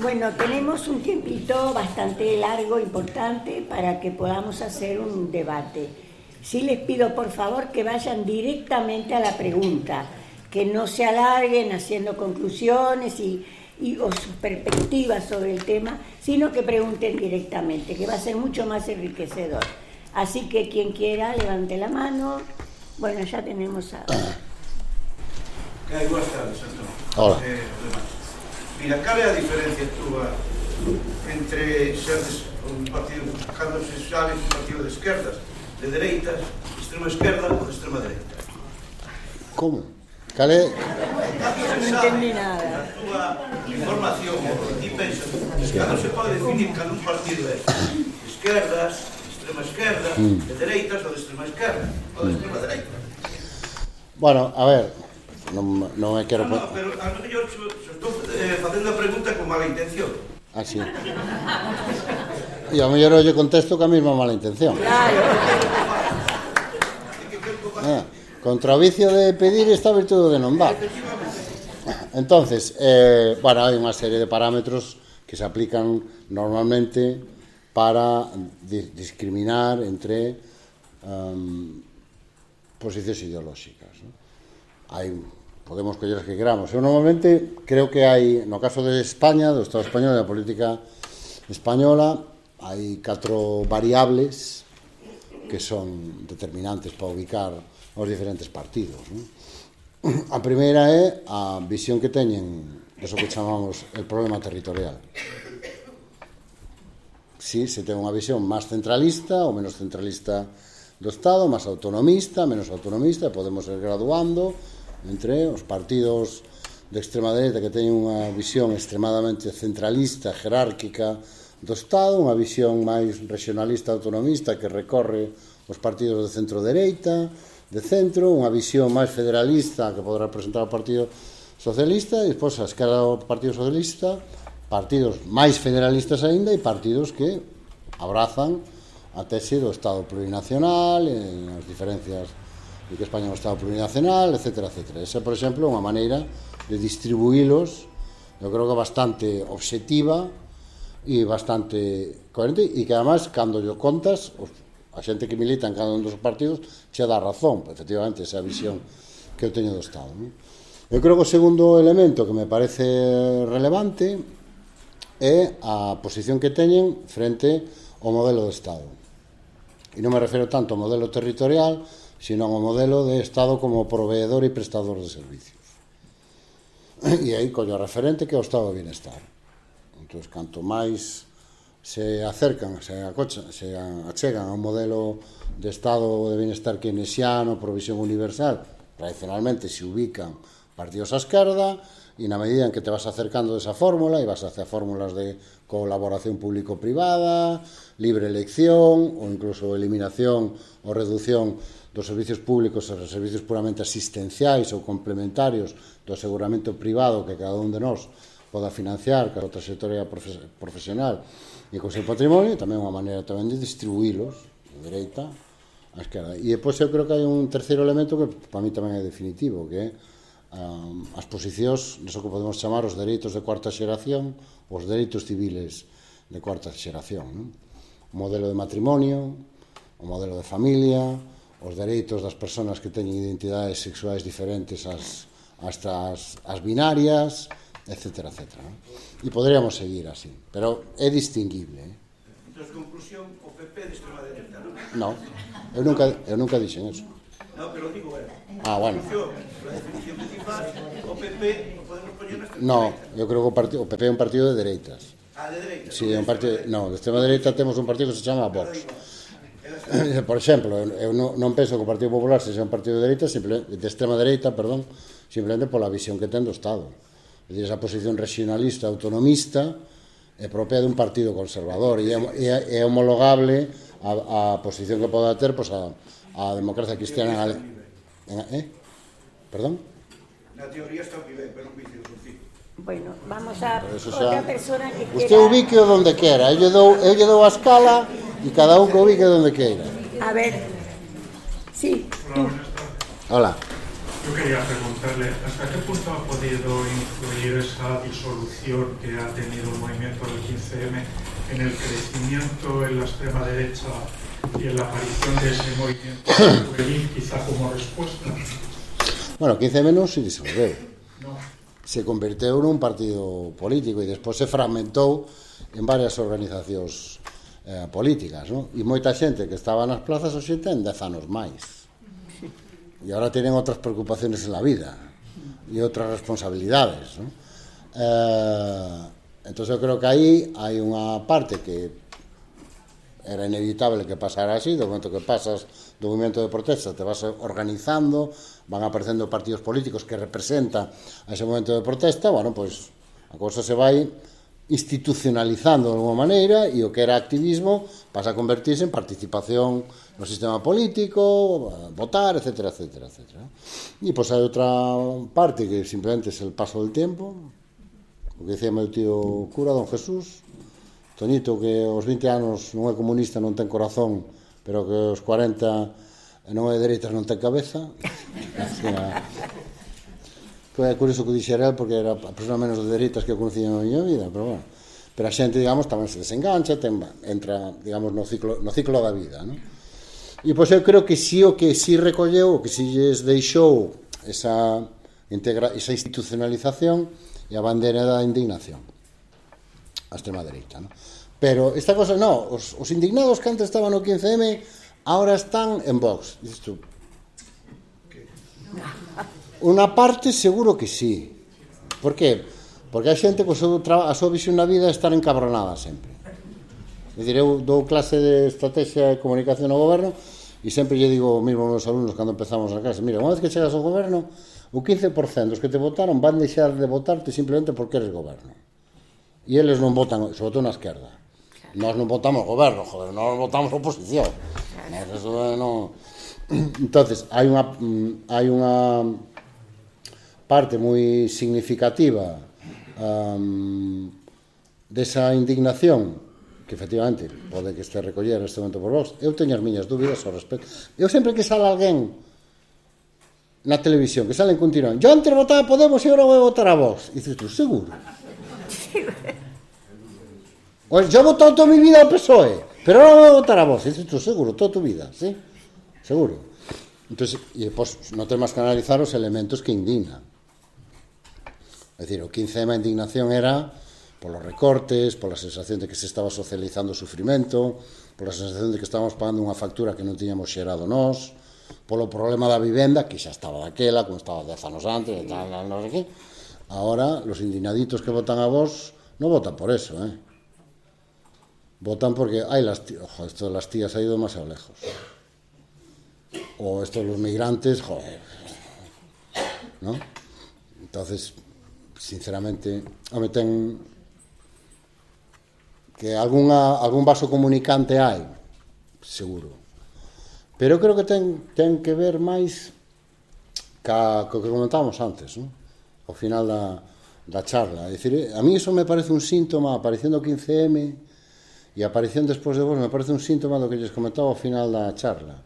Bueno, tenemos un tiempito bastante largo, importante, para que podamos hacer un debate. Sí les pido, por favor, que vayan directamente a la pregunta, que no se alarguen haciendo conclusiones o sus perspectivas sobre el tema, sino que pregunten directamente, que va a ser mucho más enriquecedor. Así que quien quiera, levante la mano. Bueno, ya tenemos a... Buenas tardes, Antón. Hola. Mira, cal é a diferencia túa entre seres un partido, cando se sabe un partido de esquerdas, de dereitas, de extrema esquerda ou de extrema dereita? Como? Cal é? No entendí nada. A túa información, o que ti pensas, cando se pode definir cando un partido é de esquerdas, de extrema esquerda, de dereitas ou de extrema esquerda, ou de extrema dereita? Bueno, a ver, non me quero... No, pero a lo mellor estou facendo a pregunta con mala intención. Ah, sí. E ao mellor eu contesto ca mesma mala intención. Claro. Contra o vicio de pedir está a virtude de non dar. Entonces, bueno, hai unha serie de parámetros que se aplican normalmente para discriminar entre posicións ideolóxicas, ¿no? Podemos coller as que queramos. Eu normalmente creo que hai, no caso de España, do Estado español e da política española, hai 4 variables que son determinantes para ubicar os diferentes partidos, ¿no? A primeira é a visión que teñen eso que chamamos el problema territorial. Si se ten unha visión máis centralista ou menos centralista do Estado, máis autonomista, menos autonomista, e podemos ir graduando entre os partidos de extrema dereita que teñen unha visión extremadamente centralista, jerárquica do Estado, unha visión máis regionalista, autonomista que recorre os partidos de centro-dereita, de centro, unha visión máis federalista que poderá representar o Partido Socialista, e despois a esquerda do Partido Socialista, partidos máis federalistas aínda e partidos que abrazan a tese do Estado plurinacional, en as diferencias de que España é un Estado plurinacional, etc. Esa, por exemplo, é unha maneira de distribuílos, eu creo que bastante obxectiva e bastante coherente, e que, además, cando yo contas, a xente que milita en cada un dos partidos xa dá razón, efectivamente, esa visión que eu teño do Estado, ¿no? Eu creo que o segundo elemento que me parece relevante é a posición que teñen frente ao modelo de Estado. E non me refiro tanto ao modelo territorial, sino ao modelo de Estado como proveedor e prestador de servicios. E aí collo referente que é o Estado de Bienestar. Entón, canto máis se acercan, se achegan a un modelo de Estado de Bienestar keynesiano, provisión universal, tradicionalmente se ubican partidos á esquerda, e na medida en que te vas acercando desa fórmula e vas hacia fórmulas de colaboración público-privada, libre elección ou incluso eliminación ou reducción dos servicios públicos e dos servicios puramente asistenciais ou complementarios do aseguramento privado que cada un de nós poda financiar ca outra trayectoria profesional e con seu patrimonio, tamén unha maneira tamén de distribuílos de dereita á esquerda. E depois eu creo que hai un terceiro elemento que para mí tamén é definitivo, que é as posicións, neso que podemos chamar os dereitos de cuarta xeración, os dereitos civiles de cuarta xeración, ¿no? O modelo de matrimonio, o modelo de familia, os dereitos das persoas que teñen identidades sexuais diferentes ás binarias, etc. ¿No? E poderíamos seguir así, pero é distinguible. Entón, conclusión, o PP de extrema dereita, Non, non? eu nunca dixen eso. Non, pero digo, Ah, bueno. A definición que ti faz, o PP o podemos poñer na extrema No, dereita. eu creo que o PP é un partido de dereitas. Ah, de dereita? Sí, é un partido, no, de extrema dereita temos un partido que se chama Vox. Por exemplo, eu non penso que o Partido Popular sexa un partido de dereita, de extrema dereita, perdón, simplemente pola visión que ten do Estado. É dicir, esa posición regionalista, autonomista, é propia dun partido conservador e é homologable a posición que poda ter pois, a democracia cristiana. Perdón? Na teoría está moi ben, pero non vicio do fin. Bueno, vamos a outra persona que quiera... Usted ubique o donde quera, eu lle dou a escala e cada un que ubique donde queira. A ver, sí, tú. Hola. Yo quería preguntarle, ¿hasta qué punto ha podido influir esa disolución que ha tenido el movimiento del 15M en el crecimiento en la extrema derecha y en la aparición de ese movimiento juvenil, quizá como respuesta? Bueno, 15M non se disolveu. No. Se converteu nun partido político e despois se fragmentou en varias organizacións políticas, non? E moita xente que estaba nas plazas hoxe ten 10 anos máis. E agora tienen outras preocupaciones en la vida e outras responsabilidades, ¿no? Entonces eu creo que aí hai unha parte que era inevitable que pasara así. Do momento que pasas do movimento de protesta te vas organizando, van aparecendo partidos políticos que representan a ese momento de protesta, bueno, pois a cousa se vai institucionalizando de alguma maneira e o que era activismo pasa a convertirse en participación no sistema político, votar, etcétera, etcétera, etcétera. E pois hai outra parte que simplemente é el paso del tempo, o que dicía meu tío cura, don Jesús, Toñito, que aos 20 anos non é comunista, non ten corazón, pero que aos 40 non é de dereitas, non ten cabeza. Foi curioso que dixera el, porque era a persona menos de dereitas que eu conocía na miña vida, pero bueno. Pero a xente, digamos, tamén se desengancha, entra, digamos, no ciclo da vida, non? E pois eu creo que si o que si recolleu, o que si lles deixou esa institucionalización e a bandeira da indignación a extrema dereita, non? Pero esta cosa, no, os indignados que antes estaban no 15M ahora están en Vox. Dices tú, unha parte seguro que sí. Por que? Porque a xente a súa visión na vida é estar encabronada sempre. É dicir, eu dou clase de estrategia de comunicación ao goberno e sempre lle digo mesmo aos meus alumnos cando empezamos a clase, mira, unha vez que chegas ao goberno, o 15% dos que te votaron van deixar de votarte simplemente porque eres goberno. E eles non votan, sobre todo na esquerda. Nós non votamos goberno, joder, nós votamos oposición. Eso non... Entonces, hai unha parte moi significativa desa indignación que efectivamente pode que este recoller neste momento por Vox. Eu teño as miñas dúbidas ao respecto. Eu sempre que sale alguén na televisión, que salen continuando, yo antes votaba a Podemos e agora vou votar a Vox, e dices tú, seguro? Pues yo he votado toda mi vida al PSOE, pero ahora voy a votar a Vox, e dices tú, seguro, toda tu vida, ¿sí? Seguro. Entonces, e pues non ten máis que analizar os elementos que indignan. É dicir, o 15M a indignación era polos recortes, pola sensación de que se estaba socializando o sufrimento, pola sensación de que estábamos pagando unha factura que non tiñamos xerado nós, polo problema da vivenda, que xa estaba daquela, como estaba 10 anos antes, e tal, non sei que. Ahora, los indignaditos que votan a Vox non votan por eso, votan porque, ay, ojo, esto de las tías ha ido demasiado lejos. O esto de los migrantes, joder, ¿no? Entonces, sinceramente, home, ten que algún vaso comunicante hai, seguro. Pero creo que ten que ver máis co que comentábamos antes, ¿no? Ao final da charla. É dicir, a mí iso me parece un síntoma, a aparición do 15M e a aparición despois de Vox, me parece un síntoma do que lles comentaba ao final da charla.